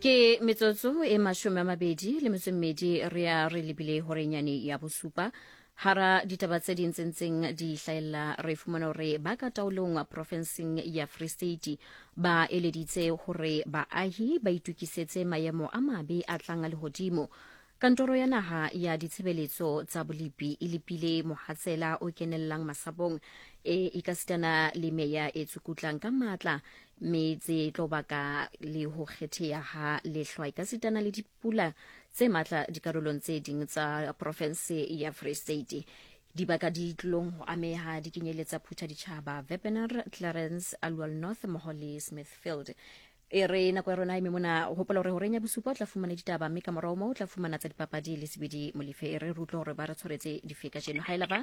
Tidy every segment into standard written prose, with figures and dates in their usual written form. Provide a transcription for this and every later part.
Ke metsotso e 22 le metso e mmedi re ya re lebile horenyane ya bosupa. Hara ditaba tse ding tse ntseng di hlahella re fumana hore ba ka taolong profenseng ya Free State ba eleditse hore baahi ba itokisetse maemo a mabe a tlang a lehodimo. Kantoro ya Naha ya Ditshebeletso tsa Bolepi e lepile mohatsela o kenellang masapong e ekasitana le meya e tsukutlang ka matla mme tse tlo baka le ho kgetheha ha lehlwa ekasitana le dipula tse matla dikarolong tse ding tsa porofense ya Free State. Dibaka di tlilong ho ameha di kenyeletsa Phuthaditjhaba, Wepener, Clarens, Aliwal North mmoho le Smithfield. E re nako ya rona e mona hopola hore horeng ya bosupa o tla fumana ditaba mme ka morao moo o tla fumana tsa dipapadi le sebedi molefe e re re utlwe hore ba re tshwaretse dife kajeno ha e laba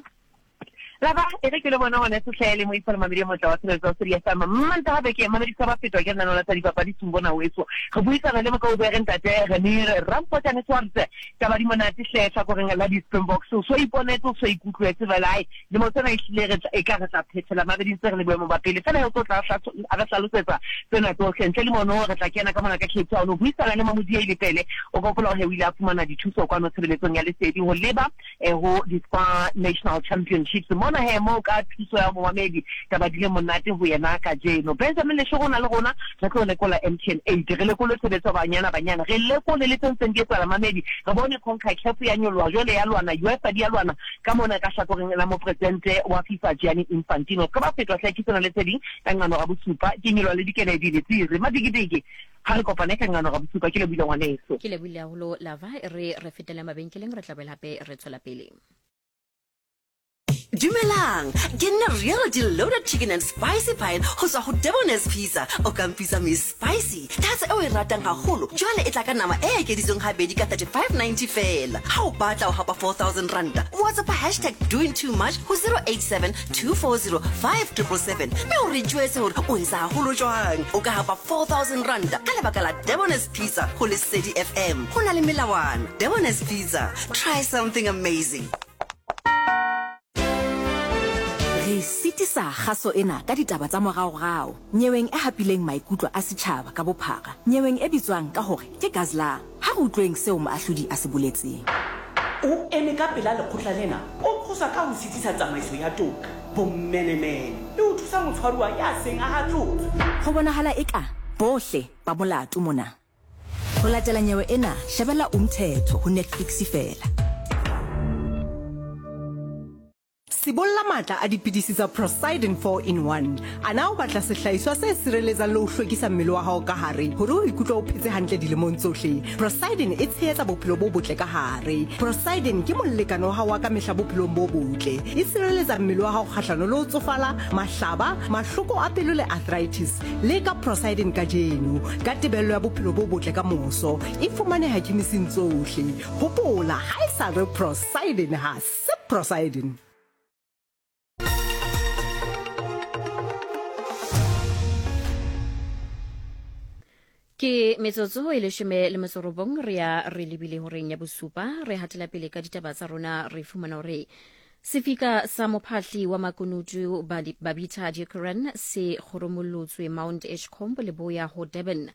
laba e re ke le bona gone setlhe le moisa le mamedi motla wa tshebeletso wa Sedi FM mmanta gape ke mamedi sa ba fetwa ke lenaneo la tsa dipapadi Sumbona weso re buisana le mokaubere ntate Renir Rampotane Swartse taba di monate hle hlakoreng la di-Springboks o so iponetse o so ikutlwetse fela ai Lemo sena ehlile re tla, eka re tla phethela mabeding tse re le boemo ba pele. Feela o tlo tla a re hlalosetsa tsena tsohle. Ntle le mono re tla kena ka mona ka Cape Town ho buisana le Mamodiei Lepele. O ka hopola hore o ile a fumana dithuso kwano tshebeletsong ya Lesedi ho leba eh, ho di-Spa National Championships. Mona he moo ka thuso ya momamedi taba di le monate ho yena kajeno. Benjamin Leshoro o na le rona, re tlo lekola MTN 8, re lekole tshebetso ya Banyana Banyana, re lekole le tse ntseng di etsahala mamedi, re bone CONCACAF ya nyoloha jwale ya lwana, UEFA di ya lwana Ka mona ka hlakoreng la mopresidente wa FIFA Gianni Infantino, se ka ba fetwa hle ke sena le tse ding ka nqano ga bosupa. Ke nyolwa le dikeledi le tsiri madikidiki. Ha re kopane ka nqano ga bosupa. Ke lebohile ngwaneso. Ke lebohile haholo Lava. E re re fetele mabenkeleng re tla boela hape re tswela pele. Dumelang, ke nna Reality Loaded Chicken and Spicy Pie go tswa go Debonair's Pizza. O ka mpitsa Miss Spicy. Tatso e o e ratang haholo jwale e tla ka nama e ekeditsweng habedi ka 35.90 feela. Ha o batla ho hapa 4000 ranta, WhatsApp hashtag doing too much ho 087 240 5777 mme o re jwetse hore o etsa haholo jwang. O ka hapa 4000 ranta ka lebaka la Debonair's Pizza ho Lesedi FM. Ho na le melawana. Debonair's Pizza. Try something amazing. Re sitisa kgaso ena ka ditaba tsa moraorao nyeweng e hapileng maikutlo a setjhaba ka bophara, nyeweng e bitswang ka hore ke Guzzler. Ha re utlweng seo moahlodi a se boletseng. O eme ka pela lekgotla lena o qoswa ka ho sitisa tsamaiso ya toka, bomenemene le ho thusa motshwaruwa ya seng a hatlotswe. Ho bonahala eka bohle ba molato mona. Ho latela nyewe ena, shebella Umthetho ho Netflix feela. Sibolla matla a dipidisi tsa Procyden 4 in 1. A na o batla sehlahiswa se sireletsang le ho hlwekisa mmele wa hao ka hare hore o ikutlwe o phetse hantle dilemong tsohle? Procyden e tshehetsa bophelo bo botle ka hare. Procyden ke molekane wa hao wa ka mehla bophelong bo botle. E sireletsa mmele wa hao kgahlano le ho tsofala, mahlaba, mahloko a pelo le arthritis. Leka Procyden kajeno ka tebello ya bophelo bo botle ka moso. E fumaneha khemising tsohle. Hopola, ha e sa re Procyden ha se Procyden. Ke metsotso e leshome le metso robong re ya re lebile horeng ya bosupa re hatela pele ka ditaba tsa rona re fumana hore sefika sa mophahli wa makunutu Babita Deokaran se kgoromollotswe Mount Edgecombe leboya ho Durban.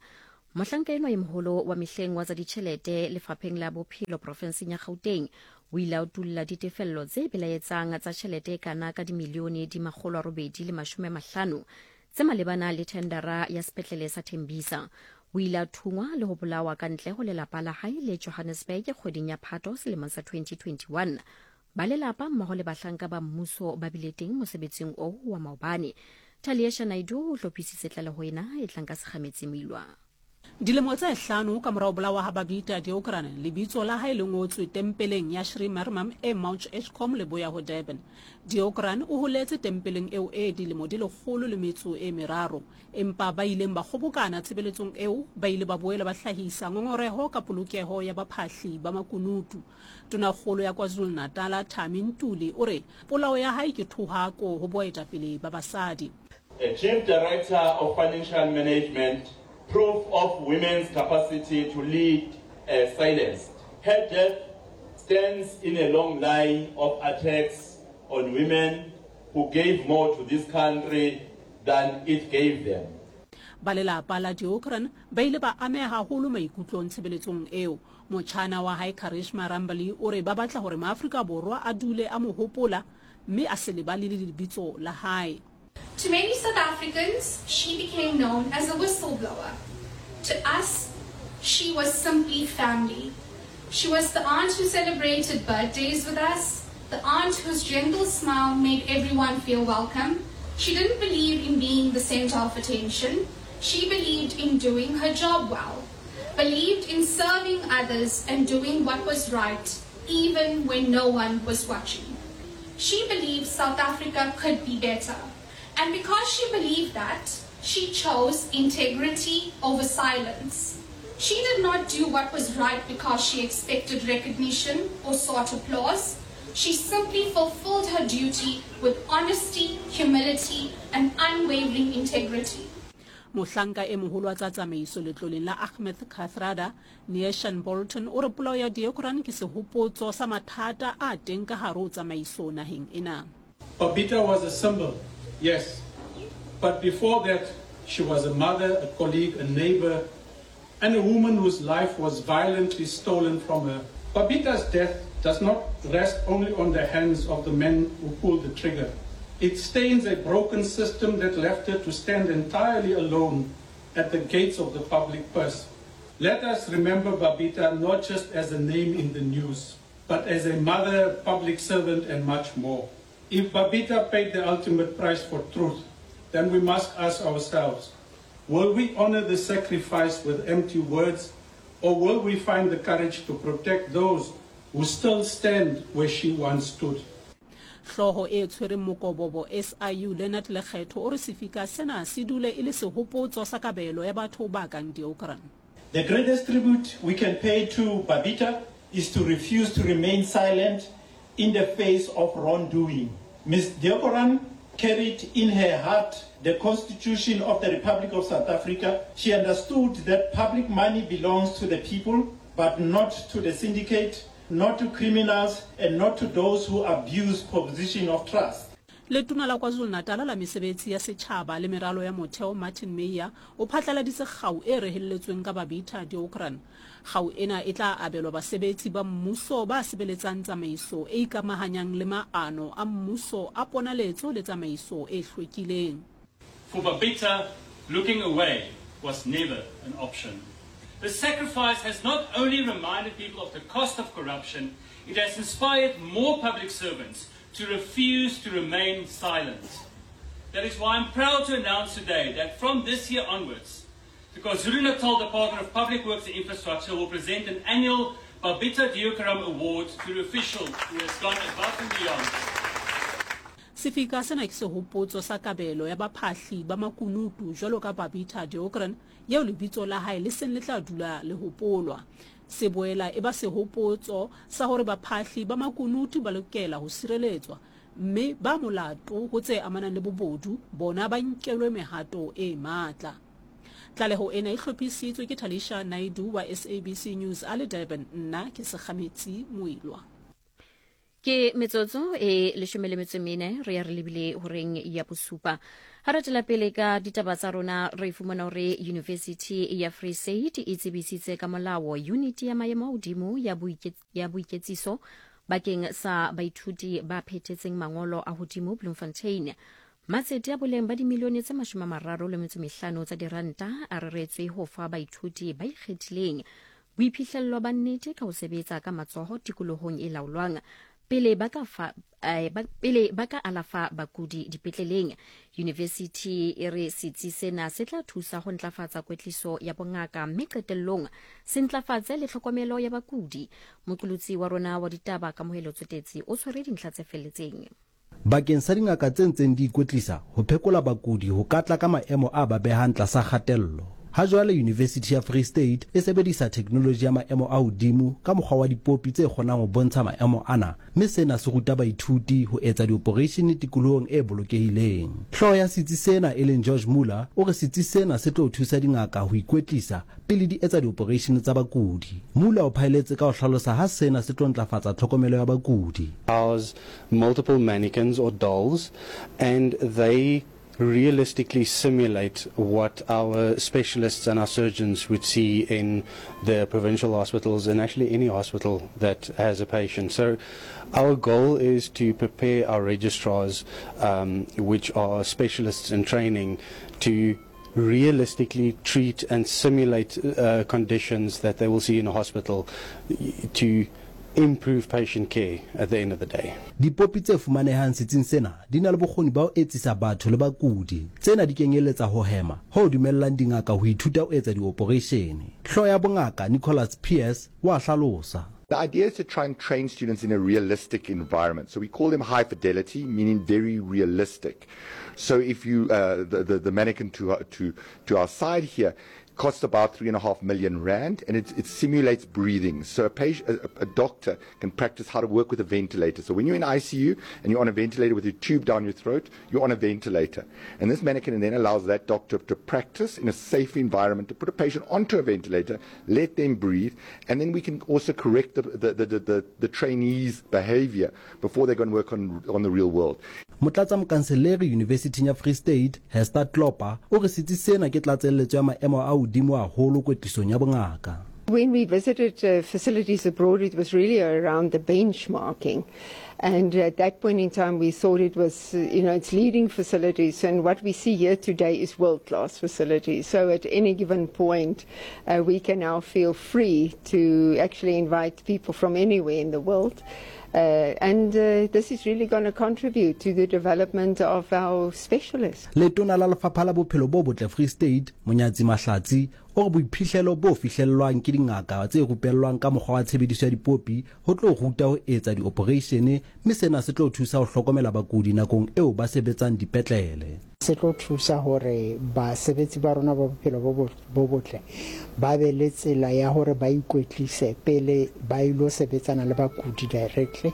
Mohlanka enwa e moholo wa mehleng wa tsa ditjhelete lefapheng la bophelo profenseng ya Gauteng o ile a utulla ditefello tse belaetsang tsa tjhelete e kana ka dimilione di 850 tse malebana le thendara ya sepetlele sa Tembisa. O ile a thungwa le ho bolawa ka ntle ho lelapa la hae le Johannesburg kgweding ya Phato selemong sa 2021. Ba lelapa mmoho le bahlanka ba mmuso ba bile teng mosebetsing oo wa maobane. Taliesha Naidoo o hlophisitse tlaleho ena e tlang ka Sekgametsi Moilwa. Dilemo tse hlano ka mora ho bolawa ha Babita Deokaran, lebitso la hae le ngotswe tempeleng ya Sri Mariamman e Mount Edgecombe leboya ho Durban. Deokaran o holetse tempeleng eo e dilemo di lekgolo le metso e meraro. Empa ba ileng ba kgobokana tshebeletsong eo ba ile ba boela ba hlahisa ngongoreho ka polokeho ya baphahli ba makunutu. Tonakgolo ya KwaZulu-Natala Thami Ntuli o re polao ya hae ke thohako ho boetapele ba basadi. A Chief Director of Financial Management, proof of women's capacity to lead silenced. Her death stands in a long line of attacks on women who gave more to this country than it gave them. Ba lelapa la Deokaran ba ile ba ameha haholo maikutlong tshebeletsong eo. Motjhana wa hae Karishma Rambally o re ba batla hore Maafrika Borwa a dule a mo hopola mme a se lebale le lebitso la hae. To many South Africans, she became known as a whistleblower. To us, she was simply family. She was the aunt who celebrated birthdays with us, the aunt whose gentle smile made everyone feel welcome. She didn't believe in being the center of attention. She believed in doing her job well, believed in serving others and doing what was right, even when no one was watching. She believed South Africa could be better. And because she believed that, she chose integrity over silence. She did not do what was right because she expected recognition or sought applause. She simply fulfilled her duty with honesty, humility, and unwavering integrity. Mohlanka e moholo wa tsa tsamaiso letloleng la Ahmed Kathrada, Neeshan Bolton, o re polao ya Deokaran ke sehopotso sa mathata a teng ka hare ho tsamaiso naheng ena. Babita was a symbol, yes. But before that, she was a mother, a colleague, a neighbor, and a woman whose life was violently stolen from her. Babita's death does not rest only on the hands of the men who pulled the trigger. It stains a broken system that left her to stand entirely alone at the gates of the public purse. Let us remember Babita not just as a name in the news, but as a mother, public servant, and much more. If Babita paid the ultimate price for truth, then we must ask ourselves, will we honor the sacrifice with empty words, or will we find the courage to protect those who still stand where she once stood? Hlooho e tshwereng mokobobo SIU Leonard Lekgetho o re sefika sena se dule e le sehopotso sa kabelo ya batho ba kang Deokaran. The greatest tribute we can pay to Babita is to refuse to remain silent in the face of wrongdoing. Ms Deokaran carried in her heart the Constitution of the Republic of South Africa. She understood that public money belongs to the people, but not to the syndicate, not to criminals and not to those who abuse position of trust. Letona la KwaZulu-Natal la Mesebetsi ya Setjhaba le Meralo ya Motheo Martin Meyer o phatlaladitse kgau e rehelletsweng ka Babita Deokaran. Kgau ena e tla abelwa basebetsi ba mmuso ba sebeletsang tsamaiso e ikamahanyang le maano a mmuso a ponaletso le tsamaiso e hlwekileng. For Babita, looking away was never an option. The sacrifice has not only reminded people of the cost of corruption, it has inspired more public servants to refuse to remain silent. That is why I'm proud to announce today that from this year onwards, the KwaZulu-Natal Department of Public Works and Infrastructure will present an annual Babita Deokaram Award to the official who has gone above and beyond. Sefika sena ke sehopotso sa kabelo ya baphahli ba makunutu jwalo ka Babita Deokaran yeo lebitso la hae le seng le tla dula le hopolwa. Se boela e ba sehopotso sa hore baphahli ba makunutu ba lokela ho sireletswa mme ba molato ho tse amanang le bobodu bona ba nkelwe mehato e matla. Tlaleho ena e hlophisitswe ke Talisha Naidoo wa SABC News a le Durban. Nna ke Sekgametsi Moilwa. Ke metsotso e leshome le metso mene re ya re lebile horeng ya bosupa. Ha re tswela pele ka ditaba tsa rona re fumana hore University ya Free State e tsebisitse ka molao unit ya maemo a hodimo ya ya boiketsiso bakeng sa baithuti ba phethetseng mangolo a hodimo Bloemfontein. Matsete a boleng ba dimilione tse 35 tsa diranta a reretswe ho fa baithuti ba ikgethileng Boiphihlello ba nnete ka ho sebetsa ka matsoho tikolohong e laolwang pele ba ka fa eh, ba, pele ba ka alafa bakudi dipetleleng. Yunivesithi e re setsi sena se tla thusa ho ntlafatsa kwetliso ya bongaka mme qetellong se ntlafatse le tlhokomelo ya bakudi. Moqolotsi wa rona wa ditaba Kamohelo Tsotetsi o tshwere dintlha tse felletseng. Bakeng sa dingaka tse ntseng di ikwetlisa, ho phekola bakudi ho ka tla ka maemo a ba behang tlasa kgatello. Ha jwale Yunivesithi ya Free State e sebedisa theknoloji ya maemo a hodimo ka mokgwa wa dipopi tse kgonang ho bontsha maemo ana mme sena se ruta baithuti ho etsa dioporeishene tikolohong e bolokehileng. Hlooho ya setsi sena e leng George Muller o re setsi sena se tlo thusa dingaka ho ikwetlisa pele di etsa dioporeishene tsa bakudi. Muller o phaeletse ka ho hlalosa ha sena se tlo ntlafatsa tlhokomelo ya bakudi. House multiple mannequins or dolls and they realistically simulate what our specialists and our surgeons would see in the provincial hospitals and actually any hospital that has a patient. So our goal is to prepare our registrars, um, which are specialists in training, to realistically treat and simulate uh, conditions that they will see in a hospital to improve patient care at the end of the day. Dipopi tse fumanehang setsing sena di na le bokgoni ba ho etsisa batho le bakudi. Tsena di kenyelletsa ho hema, ho dumellang dingaka ho ithuta ho etsa dioporeishene. Hlooho ya bongaka, Nicholas Pearce, o a hlalosa. The idea is to try and train students in a realistic environment. So we call them high fidelity, meaning very realistic. So if you, uh, the, the, the mannequin to, uh, to, to our side here, costs about 3.5 million rand, and it, it simulates breathing. So a, patient, a, a doctor can practice how to work with a ventilator. So when you're in ICU and you're on a ventilator with your tube down your throat, you're on a ventilator. And this mannequin then allows that doctor to practice in a safe environment, to put a patient onto a ventilator, let them breathe, and then we can also correct the, the, the, the, the, the trainees' behavior before they go and work on, on the real world. Motlatsamokanseleri Yunivesithing ya Free State, Hester Klopper, o re setsi sena ke tlatselletso ya maemo a hodimo haholo kwetlisong ya bongaka. When we visited uh, facilities abroad, it was really around the benchmarking. And at that point in time, we thought it was, uh, you know, it's leading facilities. And what we see here today is world-class facilities. So at any given point, uh, we can now feel free to actually invite people from anywhere in the world. Uh, and uh, this is really going to contribute to the development of our specialists. Letona la Lefapha la Bophelo bo Botle Free State, Monyatsi Mahlatsi, o re boiphihlelo bo fihlellwang ke dingaka tse rupellwang ka mokgwa wa tshebediso ya dipopi ho tlo ruta ho etsa dioporeishene mme sena se tlo thusa ho hlokomela bakudi nakong eo ba sebetsang dipetlele. Se tlo thusa hore basebetsi ba rona ba bophelo bo bo botle ba be le tsela ya hore ba ikwetlise pele ba ilo sebetsana le bakudi directly,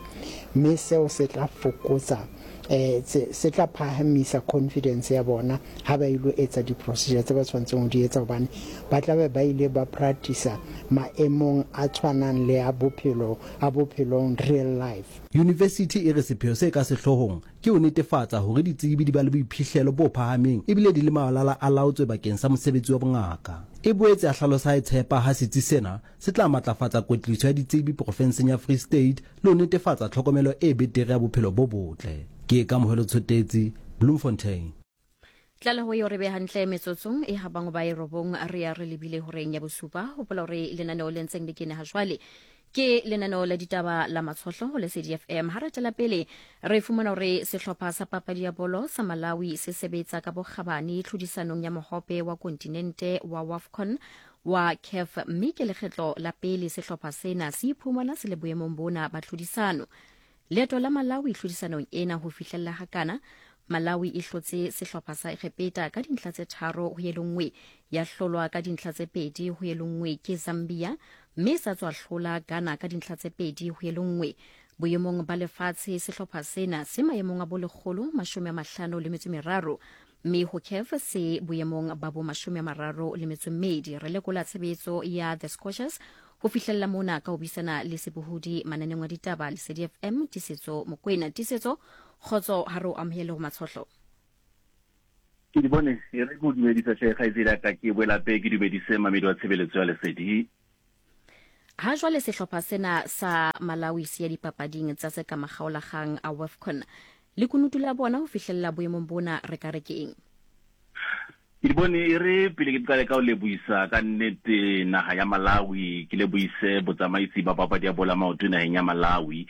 mme seo se tla fokotsa eh se tla phahamisa confidence ya bona ha ba ilo etsa di-procedure tse ba tshwanetseng ho di etsa, hobane ba tla be ba ile ba practice maemong a tshwanang le a bophelo a bophelong, real life. Yunivesithi e re sepheo se ka sehloohong Ke ho netefatsa hore ditsebi di ba le boiphihlelo bo phahameng ebile di le malala a laotswe bakeng sa mosebetsi wa bongaka. E boetse ya hlalosa ha e tshepa ha setsi sena se tla matlafatsa kwetliso ya ditsebi porofenseng ya Free State le ho netefatsa tlhokomelo e betere ya bophelo bo botle. Ke Kamohelo Tshotetsi, Bloemfontein. Tlaleho eo re be hantle metsotsong e habang ba e robong re ya re lebile horeng ya bosupa. Hopola hore lenaneo le ntseng le kene ha jwale ke lenaneo la ditaba la Matshohlo ho Lesedi FM. Ha re tswela pele re fumana hore sehlopha sa papadi ya bolo sa Malawi se sebetsa ka bokgabane tlhodisanong ya mohope wa kontinente wa WAFCON wa CAF, mme ke lekgetlo la pele sehlopha sena se iphumana se le boemong bona ba tlhodisano. Leeto la Malawi tlhodisanong ena ho fihlella hakana, Malawi e hlotse sehlopha sa Egepeta ka dintlha tse tharo ho e le nngwe, ya hlolwa ka dintlha tse pedi ho e le nngwe ke Zambia, mme sa tswa hlola Ghana ka dintlha tse pedi ho e le nngwe. Boemong ba lefatshe, sehlopha sena se maemong a bo 153, mme ho CAF se boemong ba bo 32. Re lekola tshebetso ya The Scorchers ho fihlella mona ka ho buisana le sebohodi mananeng wa ditaba Lesedi FM, Tiisetso Mokoena. Tiisetso, kgotso, ha re o amohele ho Matshohlo. Ke di bone, e re ke o dumedisa hle kgaitsedi ya ka, ke boela hape ke dumedise mamedi wa tshebeletso ya Lesedi. Ha jwale sehlopha sena sa Malawi se ya dipapading tsa se ka makgaolakgang a WAFCON. Lekunutu la bona ho fihlella boemong bona re ka re ke eng? Ke di bone, e re pele ke qale ka ho lebohisa ka nnete naha ya Malawi, ke lebohise botsamaisi ba papadi ya bola maoto naheng ya Malawi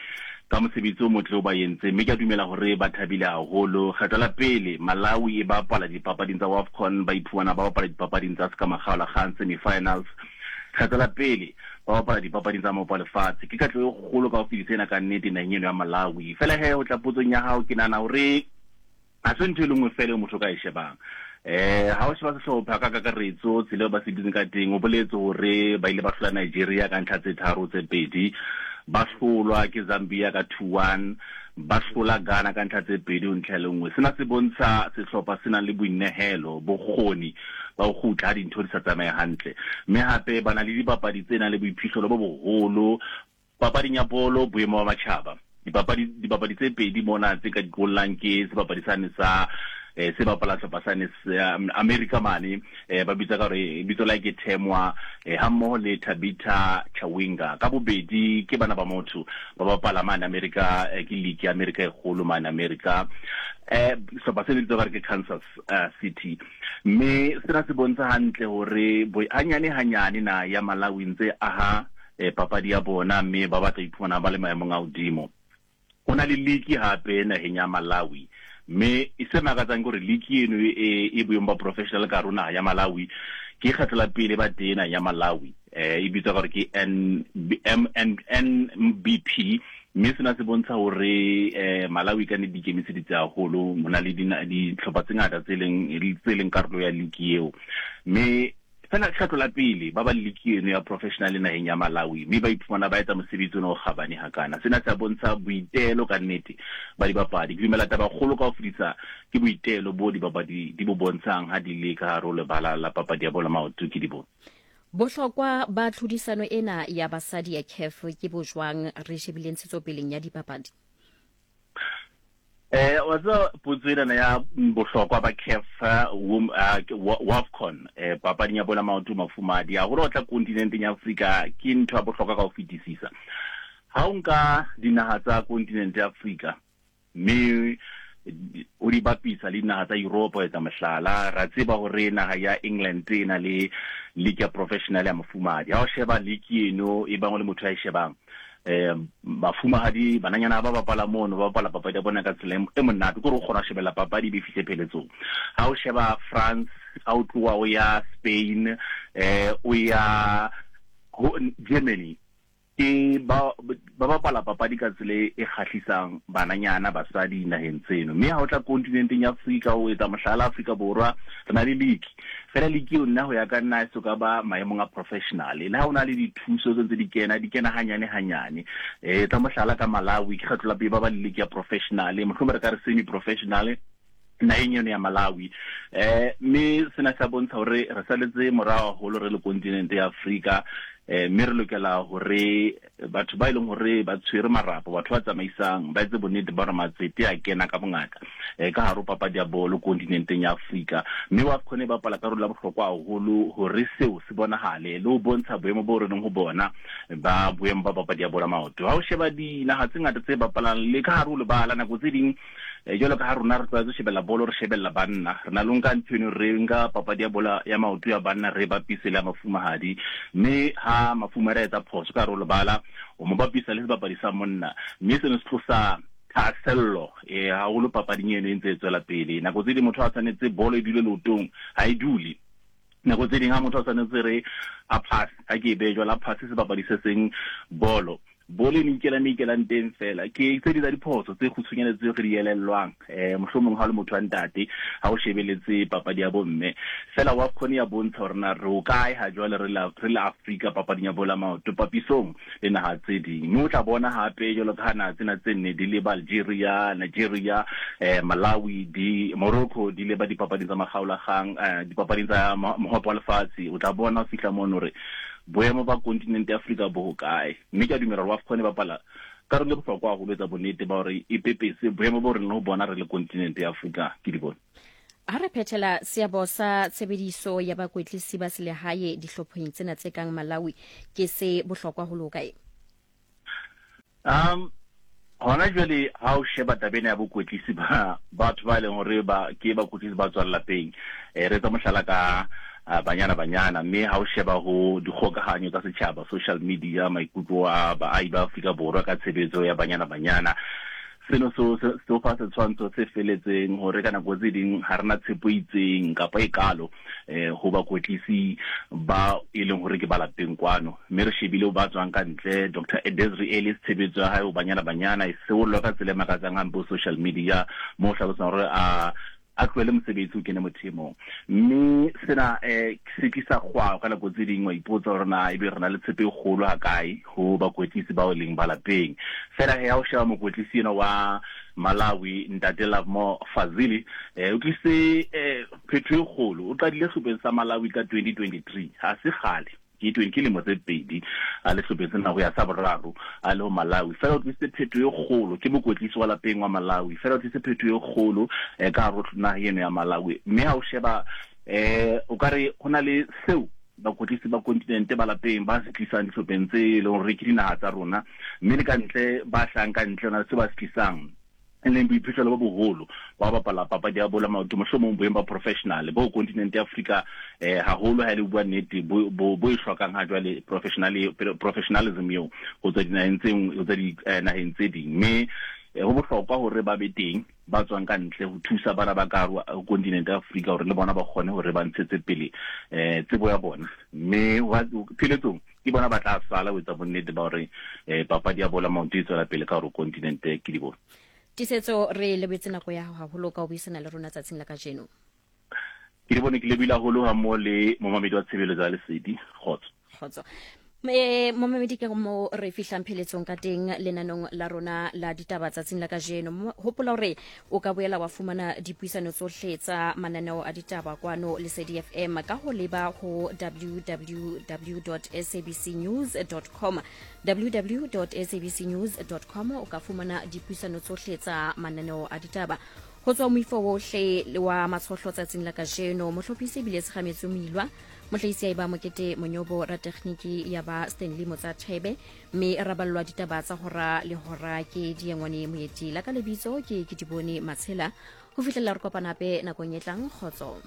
ka mosebetsi o motle o ba entseng, mme ke a dumela hore ba thabile haholo. Kgetlo la pele Malawi e bapala dipapading tsa WAFCON, ba iphumana ba bapala dipapading tsa sekamakgaolakgang, semi-finals. Kgetlo la pele ba bapala dipapading tsa maopo a lefatshe. Ke katleho e kgolo ka ho fetisa ena ka nnete naheng eno ya Malawi. Feela he, ho tla potsong ya hao, ke nahana hore Ha se ntho e le nngwe feela eo motho o ka e shebang. Eh, ha o sheba sehlopha ka kakaretso, tsela eo ba se dutseng ka teng, o boletse hore ba ile ba hlola Nigeria ka ntlha tse tharo tse pedi, ba hlolwa ke Zambia ka 2-1, ba hlola Ghana ka ntlha tse pedi ho ntlha e le nngwe. Sena se bontsha sehlopha se nang le boinehelo, bokgoni ba ho kgutla ha dintho di sa tsamaye hantle. Mme hape ba na le dibapadi tse nang le boiphihlelo bo boholo Papading ya bolo boemo ba matjhaba, dipapadi dibapadi tse pedi mona tse ka di qollang ke sebapadi sane sa eh, se bapala hlopha sane America mane eh, ba bitsa ka gore bitso la ke Themwa eh, hammoho le Tabitha Chawinga ka bobedi ke bana ba motho ba bapala mane America eh, ke league ya America e kgolo mane America eh sehlopha se bitswa ka ke Kansas uh, City mme sena se bontsha hantle hore hanyane hanyane na ya Malawi ntse aha eh, papadi ya bona mme ba batla iphumana ba le maemong a hodimo. Ho na le liki hape naheng ya Malawi mme se makatsang ke hore liki eno e, e boemong ba professional ka hare ho naha ya Malawi ke kgetlo la pele ba teng naheng ya Malawi eh e bitswa ka hore ke N M N NBP mme sena se bontsha hore eh Malawi ka ne di ikemiseditse haholo ho na le dihlopha tse ngata tse leng tse leng karolo ya liki eo mme Fela kgetlo la pele ba ba le liki eno ya professional naheng ya Malawi mme ba iphumana ba etsa mosebetsi ona o kgabane hakana. Sena se a bontsha boitelo ka nnete ba dibapadi. Ke dumela taba kgolo ka ho fetisa ke boitelo bo dibapadi di bo bontshang ha di le ka hare ho lebala la papadi ya bolo maoto ke di bone. Bohlokwa ba tlhodisano ena ya basadi ya CAF ke bo jwang re shebile ntshetsopeleng ya dipapadi? Eh wa tseba potso ena ya bohlokwa ba CAF WAFCON eh papading ya bola maoto mafumadi haholo o tla kontinenteng ya Afrika ke ntho ya bohlokwa ka ho fetisisa. Ha o nka dinaha tsa kontinente ya Afrika mme o di bapisa le dinaha tsa Europe ho etsa mohlala, ra tseba hore naha ya England e na le league ya professional ya mafumadi. Ha o sheba league eno e bang o le motho ya e shebang eh bafumahadi bananyana ba bapala mono ba bapala papadi ya bona ka tsela e monate kore o kgona go shebella papadi e be fihle pheletsong ha o sheba France ha o tloha o ya Spain eh o ya Germany ke ba ba bapala papadi ka tsela e kgahlisang bananyana basadi naheng tseno mme ha o tla kontinenteng ya Afrika o etsa mohlala Afrika Borwa re na le league Fela league eo nna ho ya ka nna e so ka ba maemong a professional. Le ha o na le dithuso tse ntse di kena, di kena hanyane hanyane. Eh tsa mohlala ka Malawi ke kgetlo la pele ba ba le league ya professional, mohlomong re ka re semi professional naheng eno ya Malawi. Eh mme sena se bontsha hore re saletse morao haholo re le kontinente ya Afrika. Eh mme re lokela hore Batho ba e leng hore ba tshwere marapo, batho ba tsamaisang, ba etse bonnete ba hore matsete a kena ka bongata eh, ka hare ho papadi ya bolo kontinenteng ya Afrika. Mme WAFCON e bapala karolo ya bohlokwa haholo hore seo se bonahale le ho bontsha boemo boo re leng ho bona ba boemo ba papadi ya bolo ya maoto. Ha o sheba dinaha tse ngata tse bapalang le ka hare ho lebala, nako tse ding Eh, jwalo ka ha rona re tlwaetse ho shebella bolo re shebella banna re na le nka ntho eno re nka papadi ya bola ya maoto ya banna re bapise le ya mafumahadi mme ha mafumahadi a etsa phoso ka hare ho lebala o mo bapisa le sebapadi sa monna mme seno se tlosa thahasello eh haholo papading eno e ntse e tswela pele nako tse ding motho a tshwanetse bolo e dule leotong ha e dule nako tse ding ha motho a tshwanetse re a pass ha ke e behe jwalo a passe sebapadi se seng bolo bolo e ne ikela me ikelang teng fela ke tse di tsa diphoso tse kgutshwanyane tse re di elellwang um mohlomong ha o le motho wa ntate ha o shebeletse papadi ya bomme fela WAFCON ya bontsha hore na re o kae ha jwale re le Afrika papading ya bola maoto papisong le naha tse ding mme o tla bona hape jwalo ka ha naha tsena tse nne di leba Algeria Nigeria eh, Malawi di Morocco di leba dipapading tsa makgaolakgang eh, dipapading tsa mohope wa lefatshe o tla bona o fihla mono hore boemo ba kontinente ya Afrika bo hokae mme ke a dumela gore WAFCON e bapala karolo e bohlokwa haholo etsa bonnete ba hore e pepese boemo bo re leng ho bona re le kontinente ya Afrika ke di bone. Ha re phethela seabo sa tshebediso ya bakwetlisi ba selehae dihlopheng tsena tse kang Malawi ke se bohlokwa ho le hokae? Um hona jwale ha o sheba taba ena ya bokwetlisi ba batho ba e leng hore ba ke bakwetlisi ba tswang lapeng eh, re etsa mohlala ka ah, Banyana Banyana mme ha o sheba ho dikgokahanyo tsa setjhaba social media maikutlo a baahi ba Afrika Borwa ka tshebetso ya Banyana Banyana seno so se fa setshwantsho se feletseng hore ka nako tse ding ha rena tshepo e itseng kapa e kalo eh ho bakwetlisi ba e leng hore ke ba lapeng kwano mme re shebile ba tswang ka ntle Dr. Desiree Ellis tshebetso ya hae ho Banyana Banyana e seollwa ka tsela e makatsang hampe ho social media mo hlalosang hore a a tlohele mosebetsi o kene mothemong mme sena um se tlisa kgwao ka nako tse ding wa ipotsa gore na ebe re na le tshepo e kgolo ha kae ho bakwetlisi bao e leng ba lapeng fela he ha o sheba mokwetlisi ena wa Malawi ntate Lovemore Fazili eh o tlise eh phetho e kgolo o qadile sehlopheng sa Malawi ka 2023 ha se kgale. Ke 20 ke lemo tse pedi a le hlopheng sena ho ya sa boraro a le ho Malawi. Fela o tlisitse phetho e kgolo, ke mokwetlisi wa lapeng wa Malawi. Fela o tlisitse phetho e kgolo eh, ka hare ho naha eno ya Malawi. Mme ha o sheba eh o ka re ho na le seo bakwetlisi ba kontinente ba lapeng ba se tlisang dihlopheng tse e leng hore ke dinaha tsa rona, mme le ka ntle ba hlahang ka ntle ho na le seo ba se tlisang, e leng boiphihlelo bo boholo ba ho bapala papadi ya bolo ya maoto, mohlomong boemo ba professional bo kontinente ya Afrika eh haholo ha e le bua nnete bo bo bo e hlokang ha jwale professional professionalism eo ho tswa dinaheng tse ho tswa dinaheng tse ding. Mme ho bohlokwa hore ba be teng ba tswang ka ntle ho thusa bana ba ka hare ho kontinente ya Afrika hore le bona ba kgone hore ba ntshetse pele eh tsebo ya bona. Mme pheletsong ke bona ba tla sala ho etsa bonnete ba hore eh papadi ya bolo ya maoto e tswela pele ka hore kontinente ke di bone. Tiisetso, re lebetse nako ya hao haholo ka ho buisana le rona tsatsing la kajeno. Ke di bone ke lebile haholo ha mmoho le momamedi wa tshebeletso ya Lesedi. Kgotso. Kgotso. E, momamedi ke mo re fihlang pheletsong ka teng lenanong la rona la ditaba tsatsing la kajeno. Hopola hore o ka boela wa fumana dipuisano tsohle tsa mananeo a ditaba kwano Lesedi FM ka ho leba ho www.sabcnews.com, www.sabcnews.com o ka fumana dipuisano tsohle tsa mananeo a ditaba ho tswa moifo wohle wa matshohlo tsatsing la kajeno. Mohlophisi ebile Tshegametswe Moilwa, mohlahisi ya eba Mokete Monyobo, ratekgniki ya ba Stanley Motsathebe, mme ra ballwa ditaba tsa hora le hora ke Diengwane Moeti. La ka lebitso ke Kedibone Matshela. Ho fihlela re kopana hape nakong e tlang, kgotso.